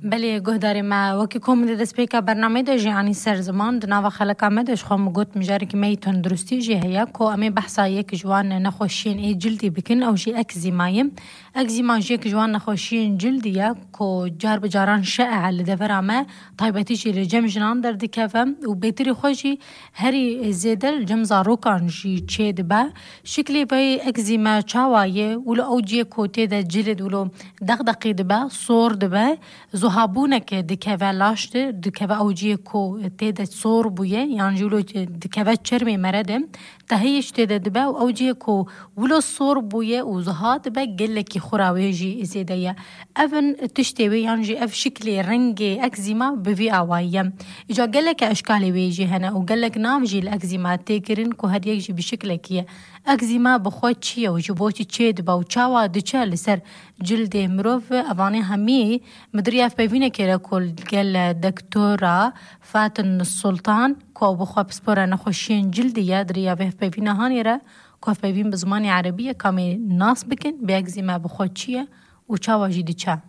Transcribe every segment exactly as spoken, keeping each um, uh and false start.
بله گهداری ما وکی کوم دیده سپیکا برنامه ده جیانی سر زمان دناوا خلقا مدش خواهم گوت مجاری که می تندرستی جی هیا که امی بحثا یک جوان نخوشین ای جلدی بکن او جی اکزیمایم اکزیما جی یک جوان نخوشین جلدیه که جار بجاران شائع لدفر ما طایبتی جی لجم جنان در دکفم و بیتری خوشی هری زیدل جم زاروکان جی چه دبا شکلی بای اکزیما چاوایه ولو او جی کوتی ده جلد ولو دغدقی دبا صور دبا زهابونك دكوا لاشت دكوا أوجيه كو تيدا صور بويه يعني جولو دكوا تشرمي مردم تهيش تيدا دبا وأوجيه كو ولو صور بويه وزها دبا قلك خراويجي زيدايا أفن تشتوي يعني جي أف شكلي رنجي أكزيما بفي أوايا إجا قلك أشكالي ويجي هنا وقلك نامجي الأكزيما تيكرين كو هاد يجي بشكلك أكزيما بخوت چيه وجبوتي چه دبا وچاوا دچه لسر جلد مروف أفاني همي مدري اف بيفينه كيرا كل قال دكتورة فاتن السلطان كو بخوا بسبورة نخوشين جلدية دريا بيف بيفينه هانيرا كو اف بيفين بزماني عربية كامي ناس بكن بيأكزيما بخوا چيه وچاوا جيدي چا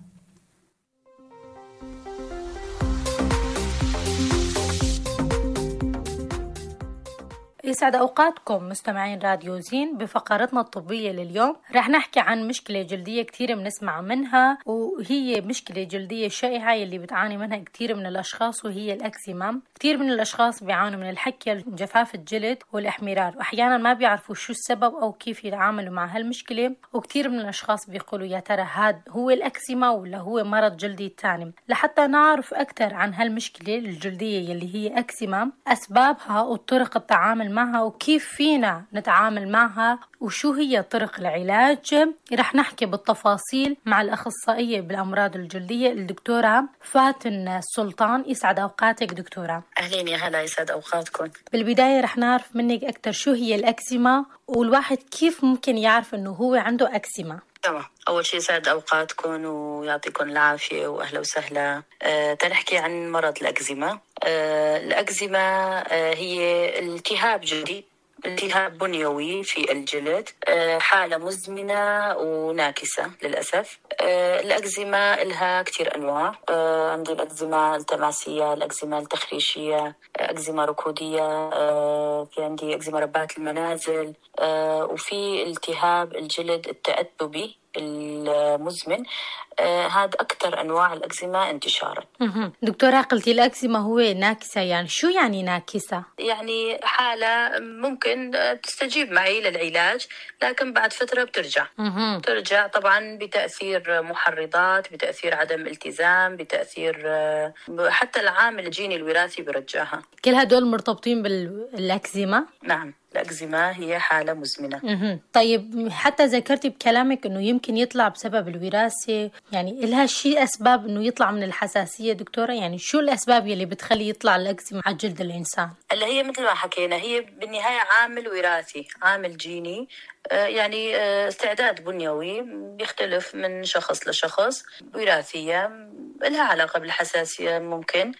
يسعد أوقاتكم مستمعين راديو زين. بفقرتنا الطبية لليوم رح نحكي عن مشكلة جلدية كتير بنسمع منها وهي مشكلة جلدية شائعة يلي بتعاني منها كتير من الأشخاص وهي الأكزيما. كتير من الأشخاص بيعانوا من الحكة جفاف الجلد والإحمرار وأحيانا ما بيعرفوا شو السبب أو كيف يتعاملوا مع هالمشكلة وكتير من الأشخاص بيقولوا يا ترى هاد هو الأكزيما ولا هو مرض جلدي تاني. لحتى نعرف أكتر عن هالمشكلة الجلدية يلي هي أكزيما أسبابها وطرق التعامل معها وكيف فينا نتعامل معها وشو هي طرق العلاج رح نحكي بالتفاصيل مع الأخصائية بالأمراض الجلدية الدكتورة فاتن السلطان. يسعد أوقاتك دكتورة. أهلين يا هلا يسعد أوقاتكم. بالبداية رح نعرف منك أكتر شو هي الأكزيما والواحد كيف ممكن يعرف أنه هو عنده أكزيما. تمام. أول شيء يسعد أوقاتكم ويعطيكم العافية وأهلا وسهلا. أه تنحكي عن مرض الأكزيما. أه الأكزيما أه هي التهاب جلدي التهاب بنيوي في الجلد، أه حالة مزمنة وناكسة للأسف. أه الأكزيما لها كتير أنواع. أه عندي الأكزيما التماسية، الأكزيما التخريشية، أكزيما ركودية، أه في عندي أكزيما ربات المنازل، أه وفي التهاب الجلد التأتبي المزمن. آه هذا أكثر أنواع الأكزيما انتشارا. دكتورة قلتي الأكزيما هو ناكسة، يعني شو يعني ناكسة؟ يعني حالة ممكن تستجيب معي للعلاج لكن بعد فترة بترجع مه. ترجع طبعا بتأثير محرضات، بتأثير عدم التزام، بتأثير آه حتى العامل الجيني الوراثي برجعها. كل هدول مرتبطين بالأكزيما؟ نعم، الأكزيما هي حالة مزمنة. مه. طيب حتى ذكرتي بكلامك إنه يمكن يطلع بسبب الوراثة، يعني إلها شيء أسباب إنه يطلع من الحساسية دكتورة؟ يعني شو الأسباب يلي بتخلي يطلع الأكزيما على جلد الإنسان؟ اللي هي مثل ما حكينا هي بالنهاية عامل وراثي، عامل جيني، يعني استعداد بنيوي بيختلف من شخص لشخص. وراثية لها علاقة بالحساسية ممكن،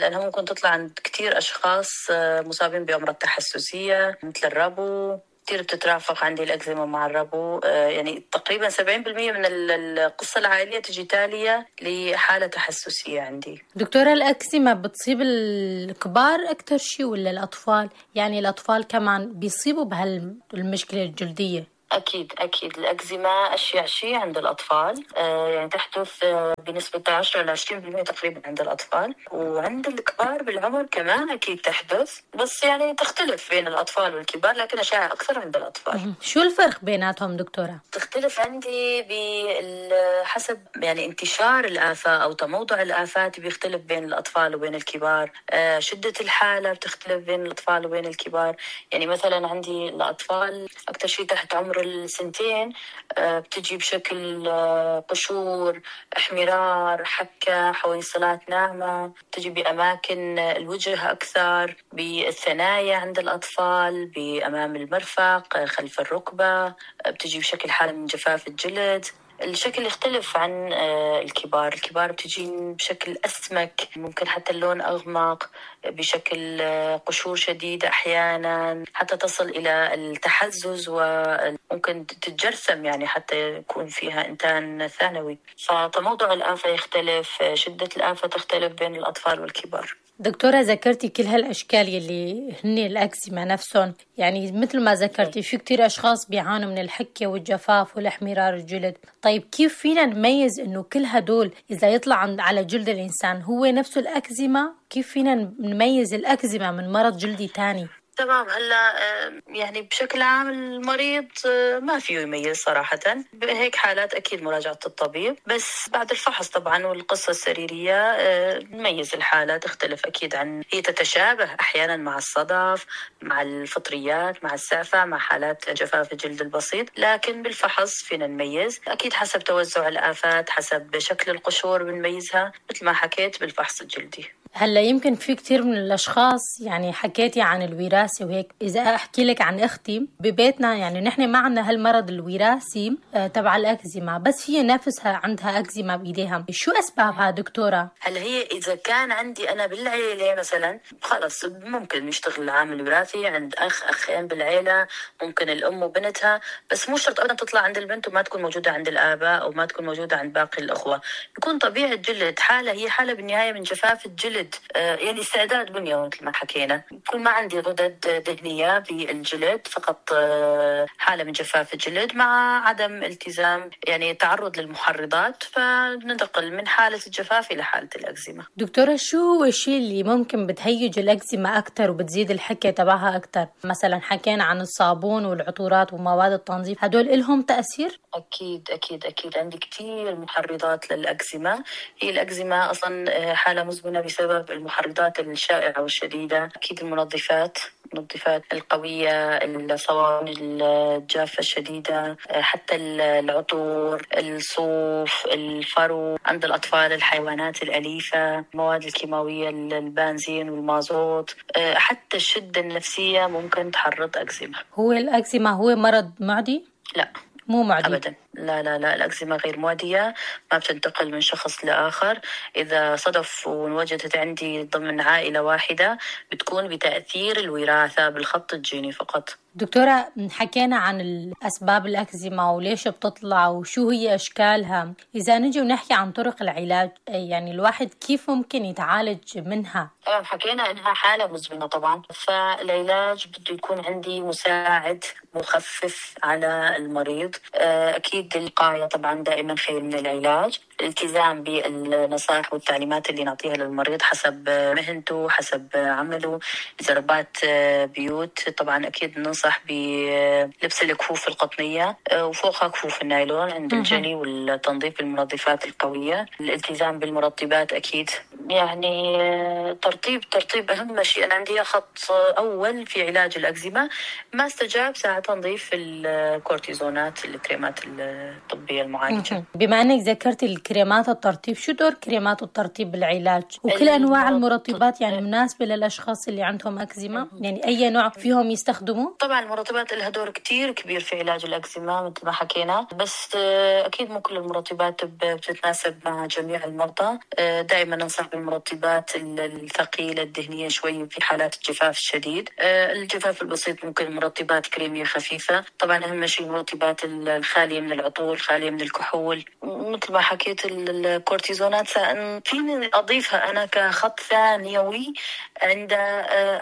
لأنها ممكن تطلع عند كتير أشخاص مصابين بأمراض تحسسية مثل الربو. كتير بتترافق عندي الأكزيما مع الربو، يعني تقريبا سبعين بالمية من القصة العائلية تجي تالية لحالة تحسسية عندي. دكتورة الأكزيما بتصيب الكبار أكتر شيء ولا الأطفال؟ يعني الأطفال كمان بيصيبوا بهالمشكلة الجلدية؟ أكيد أكيد الأكزيما أشيع شيء عند الأطفال، آه يعني تحدث آه بنسبة عشرة إلى عشرين بالمية تقريبا عند الأطفال، وعند الكبار بالعمر كمان أكيد تحدث، بس يعني تختلف بين الأطفال والكبار لكن أشياء أكثر عند الأطفال. شو الفرق بيناتهم دكتورة؟ تختلف عندي بحسب يعني انتشار الآفات أو تموضع الآفات بيختلف بين الأطفال وبين الكبار. آه شدة الحالة بتختلف بين الأطفال وبين الكبار. يعني مثلا عندي الأطفال أكثر شيء تحت عمر السنتين بتجي بشكل قشور، احمرار، حكة، حويصلات ناعمة، بتجي بأماكن الوجه أكثر، بالثنايا عند الأطفال، بأمام المرفق، خلف الركبة، بتجي بشكل حالة من جفاف الجلد. الشكل يختلف عن الكبار. الكبار بتجين بشكل أسمك، ممكن حتى اللون أغمق، بشكل قشور شديدة، أحيانا حتى تصل إلى التحزز وممكن تتجرثم، يعني حتى يكون فيها إنتان ثانوي. فموضوع الآفة يختلف، شدة الآفة تختلف بين الأطفال والكبار. دكتورة ذكرتي كل هالأشكال يلي هن الأكزيما نفسهم، يعني مثل ما ذكرتي في كتير أشخاص بيعانوا من الحكة والجفاف والإحمرار الجلد. طيب كيف فينا نميز إنه كل هدول إذا يطلع على جلد الإنسان هو نفسه الأكزيما؟ كيف فينا نميز الأكزيما من مرض جلدي تاني؟ تمام. هلا يعني بشكل عام المريض ما فيه يميز صراحة، بهيك حالات أكيد مراجعة الطبيب، بس بعد الفحص طبعا والقصة السريرية نميز الحالة. تختلف أكيد، عن هي تتشابه أحيانا مع الصدف، مع الفطريات، مع السعفة، مع حالات جفاف الجلد البسيط، لكن بالفحص فينا نميز أكيد حسب توزع الآفات، حسب شكل القشور بنميزها مثل ما حكيت بالفحص الجلدي. هلا يمكن في كتير من الأشخاص، يعني حكيتي عن الوراثة وهيك، إذا أحكي لك عن أختي ببيتنا، يعني نحن ما عنا هالمرض الوراثي تبع الأكزيما، بس هي نفسها عندها أكزيما بإيديها. شو أسبابها دكتورة؟ هلا هي إذا كان عندي أنا بالعيلة مثلا، خلص ممكن نشتغل العامل الوراثي عند أخ أخين بالعيلة، ممكن الأم وبنتها، بس مو شرط أبدا تطلع عند البنت وما تكون موجودة عند الآباء أو ما تكون موجودة عند باقي الأخوة. يكون طبيعة جلد، حالة هي حالة بالنهاية من جفاف الجلد، يعني استعداد بنيوي مثل ما حكينا. يكون ما عندي غدد دهنية بالجلد، فقط حالة من جفاف الجلد مع عدم التزام، يعني تعرض للمحرضات، فننتقل من حالة الجفاف إلى حالة الأكزيما. دكتورة شو هو الشيء اللي ممكن بتهيج الأكزيما أكتر وبتزيد الحكة تبعها أكتر؟ مثلا حكينا عن الصابون والعطورات ومواد التنظيف، هدول إلهم تأثير؟ أكيد أكيد أكيد عندي كتير محرضات للأكزيما. هي الأكزيما أصلا حالة مزمنة بسبب المحرضات الشائعة والشديدة. أكيد المنظفات المنظفات القوية، الصواني الجافة الشديدة، حتى العطور، الصوف، الفرو عند الأطفال، الحيوانات الأليفة، المواد الكيماوية، البنزين والمازوت، حتى الشدة النفسية ممكن تحرض أكزيما. هو الأكزيما هو مرض معدي؟ لا مو معدي أبدا، لا لا لا الأكزيما غير معدية، ما بتنتقل من شخص لآخر. إذا صدف ووجدت عندي ضمن عائلة واحدة بتكون بتأثير الوراثة بالخط الجيني فقط. دكتورة حكينا عن الأسباب الأكزيما وليش بتطلع وشو هي أشكالها. إذا نجي ونحكي عن طرق العلاج، يعني الواحد كيف ممكن يتعالج منها؟ طبعا حكينا إنها حالة مزمنة طبعا، فالعلاج بده يكون عندي مساعد مخفف على المريض. أكيد الوقاية طبعا دائما خير من العلاج. الالتزام بالنصائح والتعليمات اللي نعطيها للمريض حسب مهنته، حسب عمله. إذا ربات بيوت طبعا أكيد ننصح بلبس الكفوف القطنية وفوقها كفوف النايلون عند الجني والتنظيف بالمنظفات القوية. الالتزام بالمرطبات أكيد، يعني ترطيب ترطيب أهم شيء. أنا عندي خط أول في علاج الأكزيما، ما استجاب ساعة تنظيف الكورتيزونات، الكريمات الطبية المعالجة. بما أنك ذكرت الكريمات الترطيب، شو دور كريمات الترطيب بالعلاج؟ وكل أنواع المرطبات يعني مناسبة للأشخاص اللي عندهم أكزيما؟ يعني أي نوع فيهم يستخدموا؟ طبعا المرطبات لها دور كتير كبير في علاج الأكزيما مثل ما حكينا، بس أكيد مو كل المرطبات بتتناسب مع جميع المرضى. دائما ننصح بالمرطبات الثقيلة الدهنية شوي في حالات الجفاف الشديد. الجفاف البسيط ممكن مرطبات كريمية خفيفة. طبعا أهم شيء المرطبات الخالية من العطور، خالية من الكحول، مثل ما حكيت الكورتيزونات فيني أضيفها أنا كخط ثانوي عند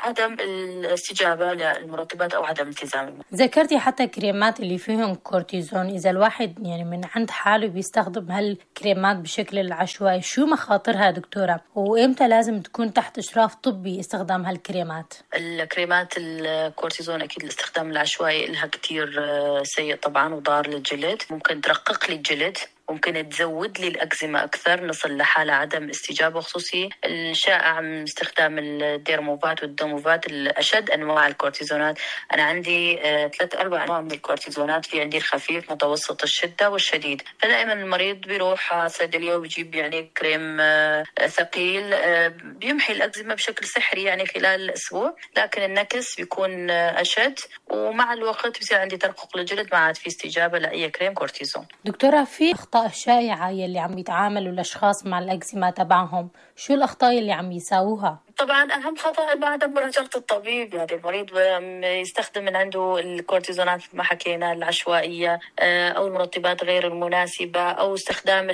عدم الاستجابة للمرطبات أو عدم التزام. ذكرتي حتى كريمات اللي فيهم كورتيزون، إذا الواحد يعني من عند حاله بيستخدم هالكريمات بشكل العشوائي، شو مخاطرها دكتورة؟ وإمتى لازم تكون تحت إشراف طبي استخدام هالكريمات؟ الكريمات الكورتيزون أكيد الاستخدام العشوائي لها كتير سيء طبعا وضار للجلد، ممكن ترقق لي الجلد ممكن تزود لي الأكزيما أكثر، نصل لحالة عدم استجابة. خصوصي الشائع من استخدام الديرموفات والدوموفات الأشد أنواع الكورتيزونات. أنا عندي آه ثلاث أربع أنواع من الكورتيزونات، في عندي الخفيف متوسط الشدة والشديد. فدائما المريض بيروح على صيدلية وبيجيب يعني كريم آه ثقيل آه بيمحي الأكزيما بشكل سحري يعني خلال الأسبوع، لكن النكس بيكون آه أشد، ومع الوقت بيصير عندي ترقق للجلد ما عاد في استجابة لأي كريم كورتيزون. دكتورة، في أخطاء شائعة يلي عم يتعاملوا الأشخاص مع الأكزيما تبعهم، شو الأخطاء اللي عم يساووها؟ طبعا أهم خطأ بعد مراجعة الطبيب، يعني المريض يستخدم من عنده الكورتيزونات ما حكينا العشوائية أو المرطبات غير المناسبة، أو استخدام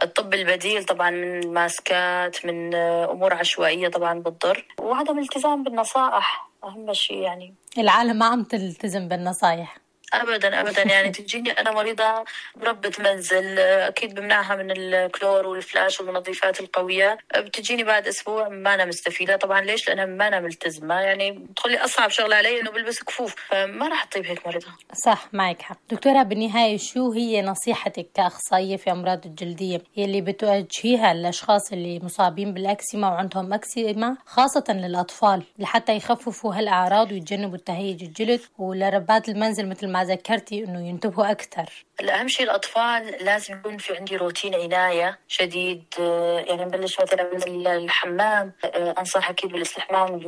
الطب البديل طبعا من ماسكات، من أمور عشوائية طبعا بتضر، وعدم الالتزام بالنصائح أهم شيء. يعني العالم ما عم تلتزم بالنصائح أبدا أبدا. يعني تجيني أنا مريضة بربة منزل، أكيد بمنعها من الكلور والفلاش والمنظفات القوية، بتجيني بعد أسبوع ما أنا مستفيدة. طبعا ليش؟ لأنها ما أنا ملتزمة، يعني بتخلي أصعب شغلة علي إنه بلبس كفوف، فما راح تطيب هيك مريضة. صح، معك حق. دكتورة، بالنهاية شو هي نصيحتك كأخصائية في أمراض الجلدية يلي بتوجهيها للأشخاص اللي مصابين بالأكزيما وعندهم أكزيما، خاصة للأطفال، لحتى يخففوا هالأعراض ويتجنبوا التهيج الجلد، ولربات المنزل مثل ما ذكرتي إنه ينتبهوا أكثر؟ الأهم شيء الأطفال لازم يكون في عندي روتين عناية شديد. يعني نبلش مثلا من الحمام، أنصح أكيد بالاستحمام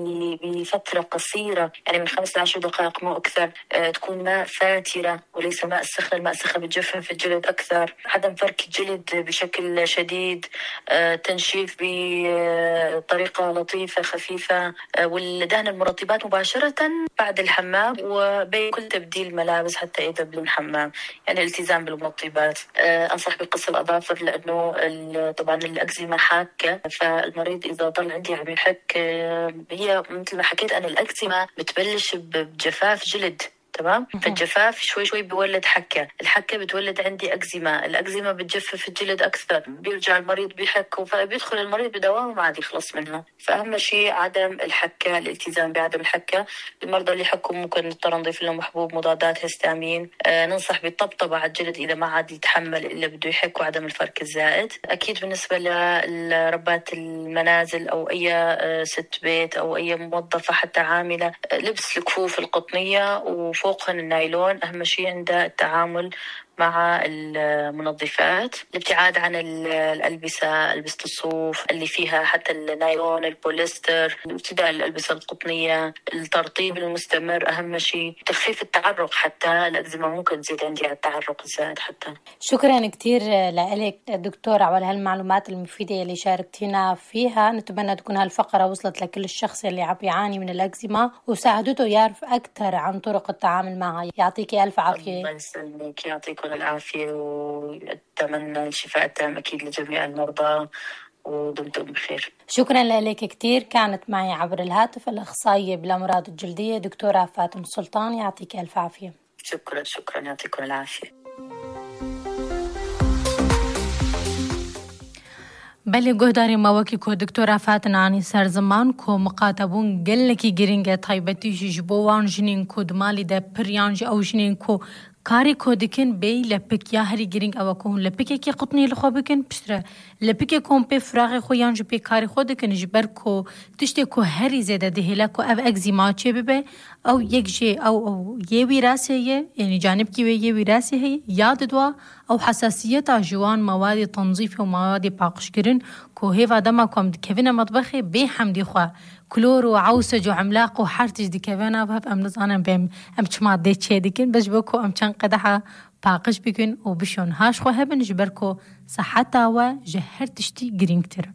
بفترة قصيرة، يعني من خمس لعشر دقائق مو أكثر. تكون ماء فاترة وليس ماء سخن، الماء السخن بتجفف الجلد أكثر. عدم فرك الجلد بشكل شديد، تنشيف بطريقة لطيفة خفيفة، والدهن المرطبات مباشرة بعد الحمام وبين كل تبديل ملابس حتى إذا بالحمام. يعني الالتزام بالمرطبات. أنصح بقص الأظافر، لأنه طبعا الأكزيما حاكة، فالمريض إذا ضل عندي عم يحك، هي مثل ما حكيت أنا الأكزيما بتبلش بجفاف جلد، تمام؟ فالجفاف شوي شوي بيولد حكة، الحكة بتولد عندي أكزيما، الأكزيما بتجفف الجلد أكثر، بيرجع المريض بيحك، فبيدخل المريض بدوام وما عاد يخلص منها. فأهم شيء عدم الحكة، الالتزام بعدم الحكة. المرضى اللي حكوا ممكن نضطر نضيف لهم حبوب مضادات هستامين. آه ننصح بالطبطبة على الجلد إذا ما عاد يتحمل إلا بده يحك، وعدم الفرك الزائد. أكيد بالنسبة لربات المنازل أو أي آه ست بيت أو أي موظفة حتى عاملة، آه لبس الكفوف القطنية وفوقهن النايلون. أهم شيء عند التعامل مع المنظفات، الابتعاد عن الألبسة، ألبسة الصوف اللي فيها حتى النايلون، البوليستر، ابتداء الألبسة القطنية، الترطيب المستمر أهم شيء، تخفيف التعرق، حتى الأكزيما ممكن تزيد عندي على التعرق الزائد حتى. شكرا كتير لك دكتورة على هالمعلومات المفيدة اللي شاركتينا فيها. نتمنى تكون هالفقرة وصلت لكل الشخص اللي عم يعاني من الأكزيما وساعدته يعرف أكثر عن طرق التعامل معها. يعطيكي ألف عافية. الله يسلمك، يعطيكم العافية، وأتمنى الشفاء التام أكيد لجميع المرضى، ودمتم بخير. شكرا لك كتير. كانت معي عبر الهاتف الأخصائية بالأمراض الجلدية دكتورة فاطمة سلطان. يعطيك ألف عافية. شكرا شكرا، يعطيكم العافية. بله گهداری مواکی که دکتر فاطمه سر زمان که مقاطبون گله کی گرینگه تایبتیش جبوان جنین که دمالی ده پریانج او جنین که کاری که دکن بی لپک یا هری گرینگ او که هون لپکی کی قطنی لخو بکن پشتره لپکی کم پی فراغ خویانج پی کاری خود دکن جبر که تشته که هری زده دهلا که او اگزیما چه ببه او یک جه او او یه ویراسه یه یعنی جانب کی یه ویراسه هی یاد دوا او حساسیت جوان مواد تنظیف و مواد پاکشگرین که هیوا دما کم دکوین مطبخی به حمدی خوا كلور وعوسج وعملاق وحرتج دي كفانا بهب أم نزانا بهم أم تشمع دي تشي ديكن باش بكو أم تشان قدحة باقش بكن وبشون هاش خو هبن جبركو صحتا وجهر تشتي جرينكتر.